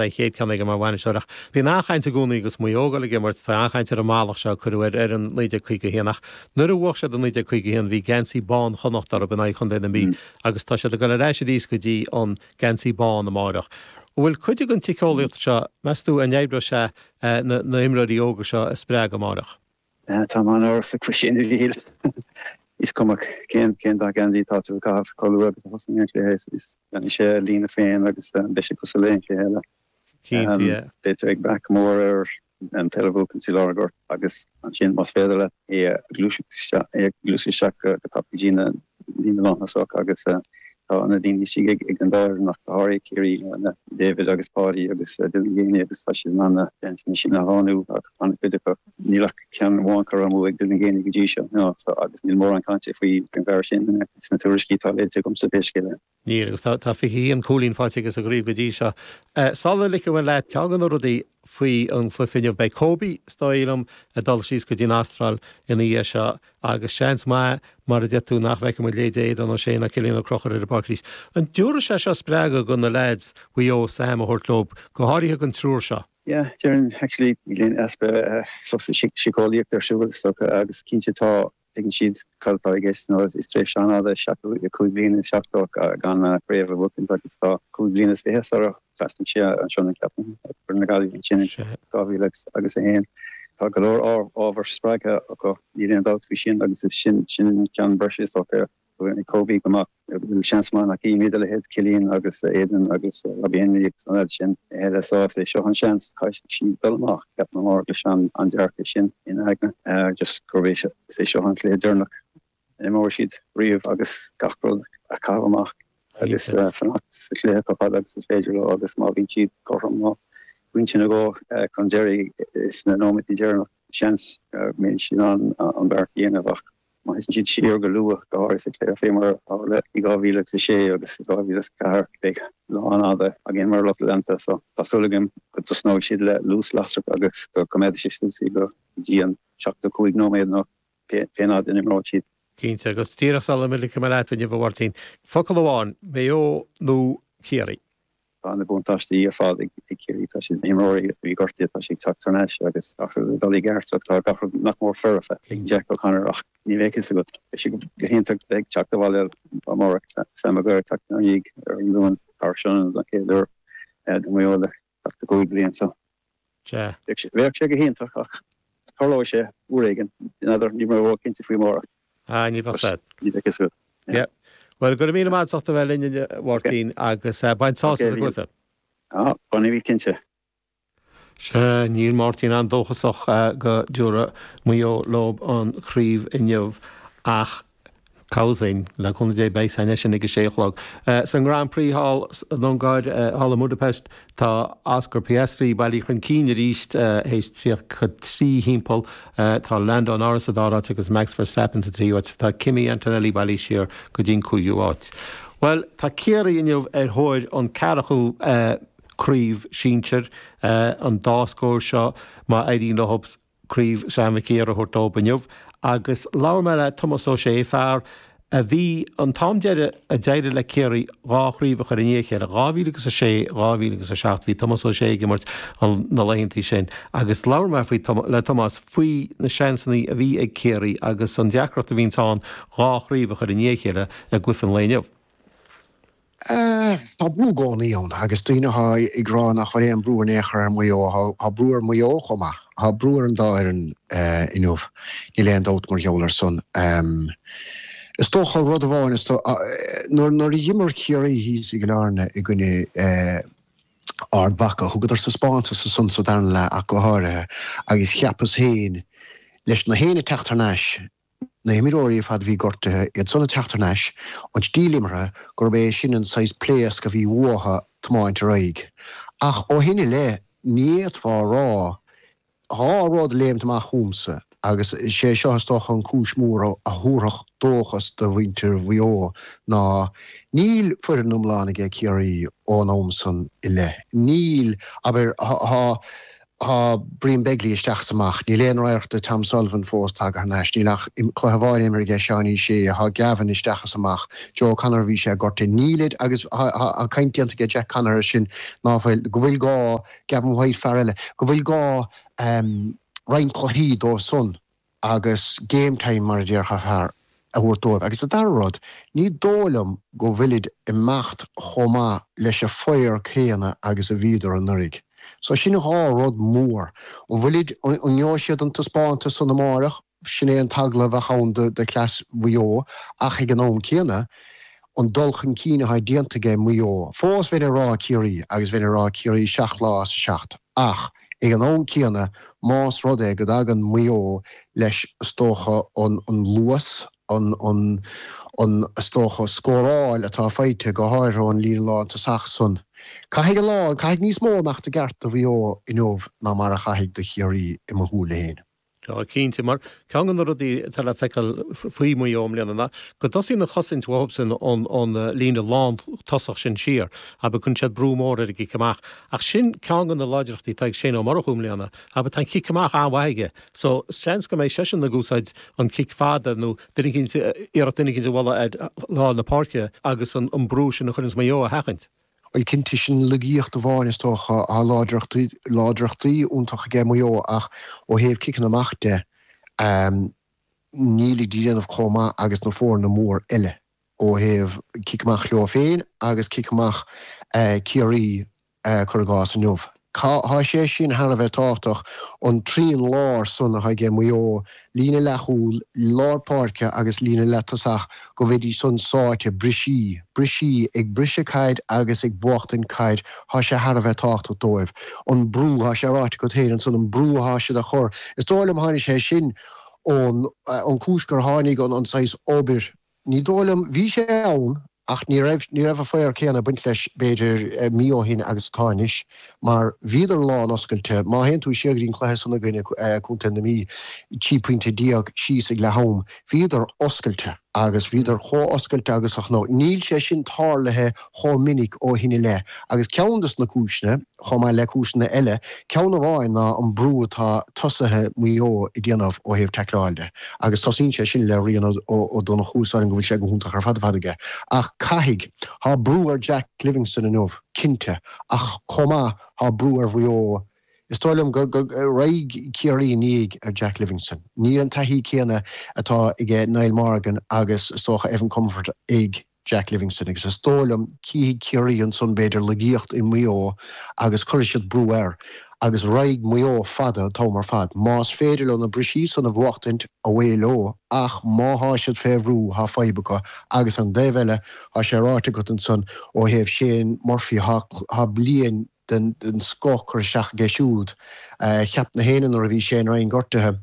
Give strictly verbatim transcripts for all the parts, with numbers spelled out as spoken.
a chéad ceann aige mar bhainisteoir ach bíonn an-chaint i gcónaí agus Maigh Eo ag dul ag imirt, tá an-chaint ar an mallacht seo a cuireadh ar fhoireann naoi déag caoga a haon ach nuair a bhuaigh siad i naoi déag caoga a haon bhí geansaí bán Chonnacht orthu in aghaidh Chontae na Mí agus tá siad ag dul ar ais arís go dtí an geansaí bán amáireach. An bhfuil cuid den tsíceolaíocht seo, meas tú, an oibreoidh sé na himreoirí óga seo a spreagadh amáireach? Tá mé an-amhrasach faoi sin, a Mhíchíl. Is cuma cén cén dath geansaí atá tú ag caitheamh, chomh luath agus a thosaíonn an cluiche is déanfaidh sé a líne féin agus beidh sé cosúil le aon chluiche eile. Cinnte, yeah. Beidh tú ag brath go mór ar an peil a bhuachan i lár an ghoirt agus ansin más féidir leat é a ghluaiseacht isteach é a ghluaiseacht isteach go tapa go dtí na líne lántosach agus tá na daoine istigh ag ag an dá fhoireann ach go háirithe Ciarraí na David agus Páidí agus Dylan Geaney agus tá siad in ann na seansanna sin a shlánú ach an-chuid acu. Níl ach ceann amháin curtha amú ag Dylan Geaney go dtí seo no so agus níl mórán cainte faoi an bhfear sin sna tuairiscí atá léite agamsa pé scéal é. Níl, agus tá fiche a haon cúilín faighte aige sa gcraobh go dtí seo. Sula ligfidh mé leat, ceann de na rudaí faoi an chluiche inniu, beidh Kobe, is dóigh liom, ag dul síos go dtí an Astráil ina dhiaidh seo agus seans maith, mar a deir tú, nach bhfeicfidh muid leithéidí Aodán Ó Sé ná Cillian Ó Conchúir ar an bpáirc arís. An dtabharfaidh sé seo spreagadh do na leaids Mhaigh Eo Sam a thabhairt leo, go háirithe don triúr seo? Yeah, déarfainn actually níl aon easpa síceolaíochta ar siúl is dócha agus cinnte tá Tuigeann siad cad atá i gceist nó is tréimhse an-fhada seachtó cúig bliana is seachtó gan craobh a bhuachaint agus tá cúig bliana is fiche sara thrasnaigh sé anseo an ceapaim foireann na Gaillimhe ansin in dhá mhíle agus a haon. Tá go leor ábhar spreagtha acu, níl aon dabht faoi sin agus is sin sin an ceann breise is dócha ag Kobe go mbeadh go bhfuil seans maith nach gcífimid a leithéid Cillian agus Aidan agus Robbie Henry agus an leaid sin eile so is é seo an seans caithfidh siad dul amach ceapaim amárach leis an an dearcadh sin ina aigne just gurb é is é seo an cluiche deireanach a imreoidh siad riamh agus gach rud a chaitheamh amach agus fanacht sa chluiche chomh fada agus is féidir leo agus má bhíonn siad cothrom nó pointe nó dhó chun deiridh sna nóiméadaí deireanach seans go mbeidh siad in ann an beart a dhéanamh ach Má thiteann siad siar go luath, go háirithe sa chluiche fé mar a tharla i dhá mhíle agus a sé agus i dhá mhíle is a ceathair, beidh lá an-fhada againn mar lucht leanta. So, tá súil agam go dtosnóidh siad le luas lasrach agus go gcoimeádfaidh sé suas iad go dtí an seachtó cúig nóiméad nó pé fhad a n-imreoidh siad. Cinnte, agus díreach sula ligfidh mé leat inniu, a Mháirtín, focal amháin, Maigh Eo nó Ciarraí? Tá na buntáistí ar fad ag Ciarraí, tá siad na himreoirí a bhí gortaithe, tá siad ag teacht thar n-ais agus gach rud ag dul i gceart ach tá gach rud nach mór foirfe ag Jack O'Connor ach ní bheidh fhios agat. Beidh sé go hiontach bheith ag teacht abhaile amárach, Sam Maguire ag teacht ina dhiaidh ar an Luan thar Sionainn don chéad uair do Mhaigh Eo le seachtó cúig bliain so bheadh sé go hiontach ach tarlóidh sé uair éigin, n'fheadar, níl mé ró-chinnte faoi amárach. Ah, ní bheadh sad. Ní bheadh fhios agat. Yeah. Bhuel, go raibh míle maith agat as ucht a bheith linn inniu, a Mháirtín, agus bain sásamh as an gcluiche. Ah, bainfidh cinnte. Sea, níl Máirtín an-dóchasach go dtabharfaidh Maigh Eo leo an chraobh inniu ach cá bhfios duinn, le cúnamh Dé beidh a fhios againn é sin ag a sé a chlog. San Grand Prix thall san Ungáir, thall i mBudapest, Tá Oscar Piastri bailithe chun cinn arís théis tríocha trí thimpeall. Tá Lando Norris sa dara háit agus Max Verstappen sa tríú háit. Tá Kimi Antonelli bailithe siar go dtí an cúigiú háit. Bhuel, tá Ciarraí inniu ar thóir an ceathrú craobh sinsir, an dá scór seo má éiríonn leo. Craobh Sam Mhic Uidhir a thabhairt dóibh inniu agus labhair mé le Tomás Ó Sé, fear a bhí an t-am deiridh a d'éirigh le Ciarraí dhá chraobh a chur i ndiaidh a chéile, dhá mhíle agus a sé, dhá mhíle agus a seacht, bhí Tomás Ó Sé ag imirt na laethantaí sin agus labhair mé faoi le Tomás faoi na seansanna a bhí ag Ciarraí agus an deacracht a bhíonns ann dhá chraobh a chur i ndiaidh a chéile i gcluiche an lae inniu. Tá brú i gcónaí ann agus daoine atá ag rá nach bhfuil aon brú in aon chor ar Mhaigh Eo, tá brú ar Mhaigh Eo chomh maith. Tá brú ar an dá fhoireann inniu, níl aon dabht mar gheall ar san. Is dócha rud amháin, is nuair a d'imir Ciarraí thíos i gCill Airne i gcoinne Ard Mhacha, thugadar taispeántas ansan sa darna leath ach go háirithe agus cheapas féin leis na héinne teacht thar n-ais, na himreoirí ar fad a bhí gortaithe, iad san ag teacht thar n-ais, an stíl imeartha, gurb é sin an saghas pléasc a bhí uathu tiomáint ar aghaidh. Ach ó shin i leith, ní fhéadfá a rá, dhá rud ag léimt amach chugamsa, agus is é seo is dócha an cúis mhór a thabharfadh dóchas do mhuintir Mhaigh Eo, ná níl foireann iomlán aige Ciarraí ón am san i leith. Níl, abair, tá. Tá Brian Begley isteach is amach, níl aon radharc de Tom Sullivan fós tagtha thar n-ais, níl ach cluiche amháin imeartha aige Seánie Shea, tá Gavin isteach is amach, Joe O'Connor bhí sé gortaithe, nílid agus tá caint déanta aige Jack Connor air sin ná fuil, go bhfuil gá Gavin White fear eile, go bhfuil gá roinnt cluichí dó san agus game time mar a déarfá a thabhairt dóibh. Agus an dara rud, ní dóigh liom go bhfuilid imeacht chomh maith leis an bhfear céanna agus a bhíodar anuraidh. So sin dhá rud mór. An bhfuilid, an ngeobhaidh siad an taispeántas san amárach? Sin é an t-eagla a bheadh ann do chleas Mhaigh Eo ach ag an am céanna, an dul chun cinn atá déanta aige Maigh Eo, fós bheinn ag rá Ciarraí agus bheinn ag rá Ciarraí seacht lá as a seacht ach ag an am céanna más rud é go dtagann Maigh Eo leis is dócha an luas, an an is dócha scóráil atá faighte go háirithe ón líne lántosach san. Caithfidh a lán, caithfidh níos mó imeacht i gceart do Mhaigh Eo inniu ná mar a chaithfidh do Chiarraí i mo shúile féin. Tá, cinnte, mar ceann de na rudaí atá le feiceáil faoi Mhaigh Eo i mbliana ná go dtosaíonn an chosaint uathubsan ón ón líne lántosach sin siar, abair cuireann siad brú mór ar an gcic amach. Ach sin ceann de na láidreachtaí atá ag Shane Ó Murchú i mbliana, abair tá an cic amach an-mhaith aige. So, seans go mbeidh seisean ag úsáid an cic fada nó duine eicínt, iarracht duine eicínt a bhualadh ar lár na páirce agus an brú sin a chuireanns Maigh Eo a sheachaint. Bhuel, cinnte, sin laigeacht amháin is dócha, tá láidreachtaí, láidreachtaí iontach aige Maigh Eo ach ó thaobh ciceanna amach de, nílid ag déanamh chomh maith agus na foirne mór eile ó thaobh cic amach leo féin agus cic amach Ciarraí cuir i gcás inniu. Tá sé sin thar a bheith tábhachtach, an trian láir san atá aige Maigh Eo, líne leathchúil, lár páirce agus líne leath-tosach, go mbeidís san sáite, brisí, brisí, ag briseadh caid agus ag buachtaint caid, tá sé thar a bheith tábhachtach dóibh. An brú, tá sé ráite agat féin ansan, an brú atá siad a chur, is dóigh liom tháinig sé sin ón, ón chúis gur tháinig an, an saghas obair, ní dóigh liom, bhí sé ann, Ach ní raibh, ní raibh an fhear céanna ag baint leis, b'fhéidir, mí ó shin agus atá anois, mar bhíodar lán oscailte. Má théann tú siar go dtí an cluiche san i gcoinne Contae na Mí, trí pointe déag síos ag leath am, bhíodar oscailte agus bhíodar chomh oscailte agus a chonac. Níl sé sin tarlaithe chomh minic ó shin i leith agus ceann des na cúiseanna, chomh maith le cúiseanna eile, ceann amháin ná an brú atá tosaithe Mhaigh Eo ag déanamh ó thaobh taicleáil de agus tosaíonn sé sin le Rian Ó Donnchú, is dóigh liom go bhfuil sé go hiontach ar fad ar fad aige. Ach caithfidh, tá brú ar Jack Livingstone inniu, cinnte, ach chomh maith tá brú ar Mhaigh Eo. Is dóigh liom go raghaidh Ciarraí i ndiaidh ar Jack Livingstone. Níl an taithí céanna atá aige Niall Morgan agus is dócha Evan Comerford ag Jack Livingstone agus is dóigh liom cífidh Ciarraí ansan b'fhéidir laigeacht i Maigh Eo agus cuirfidh siad brú air agus raghaidh Maigh Eo fada an t-am ar fad. Más féidir leo na brisí san a bhuachtaint, away leo ach má thá siad fé bhrú thá fadhb acu agus an taobh eile thá sé ráite agat ansan ó thaobh Shane Murphy thá bliain den scoth curtha isteach aige siúd. Cheap na héinne nuair a bhí Shane Ryan gortaithe,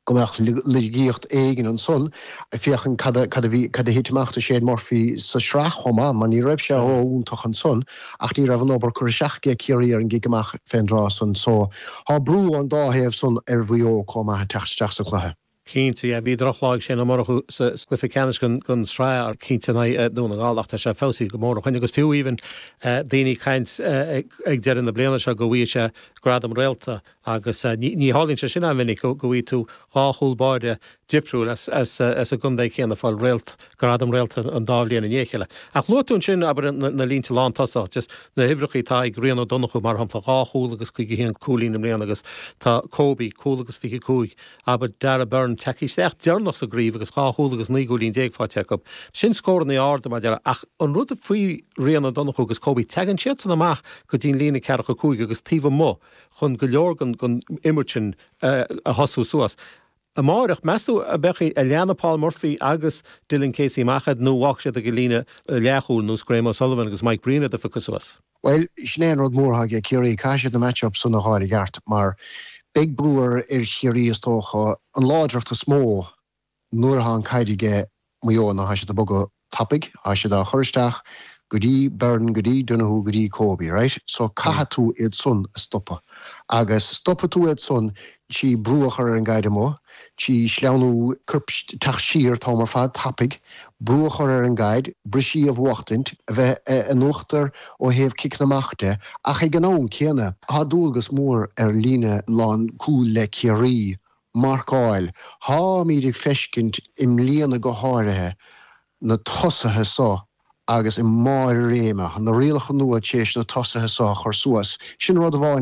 go mbeadh laigeacht éigin ansan, féachaint cad a cad a bhí, cad a thit amach do Shane Murphy sa sraith chomh maith, mar ní raibh sé ró-iontach ansan ach ní raibh an obair curtha isteach aige Ciarraí ar an gcic amach fén dtráth san. So, tá brú ón dá thaobh san ar Mhaigh Eo chomh maith ag teacht isteach sa chluiche. Cinnte, yeah, bhí drochlá ag Shane Ó Murchú sa gcluiche ceannais den tsraith, cinnte in aghaidh Dún na nGall ach tá sé feabhsaithe go mór ó shin agus fiú even daoine ag caint ag deireadh na bliana seo go bhfaighidh sé gradam réalta Agus ní tharlaíonn sé sin an-mhinic go bhfaighidh tú dhá chúl báire difriúil as an gcontae céanna ag fáil réalt, gradam réalta an dá bhliain i ndiaidh a chéile. Ach luaigh tú ansin, abair, na línte lántosach, just na huimhreacha atá ag Rian Ó Donnchú, mar shampla, dhá chúl agus caoga a haon cúilín i mbliana agus tá Kobe, cúl agus fiche cúig, abair, Darragh Beirne, tagtha isteach deireanach sa gcraobh agus dhá chúl agus naoi gcúilín déag faighte acu. Sin scóranna arda, mar a déarfá. Ach an rud faoi Rian Ó Donnchú agus Kobe, tagann siadsan amach go dtí an líne ceathracha cúig agus taobh amuigh chun go leor den imirt sin a thosú suas. Amáireach, meas tú an mbeidh a leanfaidh Paul Murphy agus Dylan Casey amach iad nó an bhfágfaidh siad ag an líne leathchúil ar nós Graham O'Sullivan agus Mike Breen iad a phiocadh suas? Bhuel, sin é an rud mór atá ag Ciarraí, caithfidh siad na match-ups san a fháil i gceart mar beidh brú ar Chiarraí is dócha. An láidreacht is mó nuair atá an caid aige Maigh Eo ná tá siad ag bogadh tapaidh, tá siad á chur isteach go dtí Byrne, go dtí Donoghue, go dtí Kobe, right? So caithfidh tú iad san a stopadh. Agus stopfaidh tú iad san trí brú a chur ar an gcaid amuigh, trí sleamhnú coirp teacht siar an t-am ar fad tapaidh, brú a chur ar an gcaid, briseadh a bhuachtaint, a bheith in uachtar ó thaobh ciceanna amach de, ach ag an am céanna, tá dualgas mór ar líne lán cúil le Ciarraí marcáil. Táimid ag feiscint i mbliana go háirithe na tosaithe so agus i mbarr a réime, na rialacha nua tar éis na tosaithe so a chur suas. Sin rud amháin.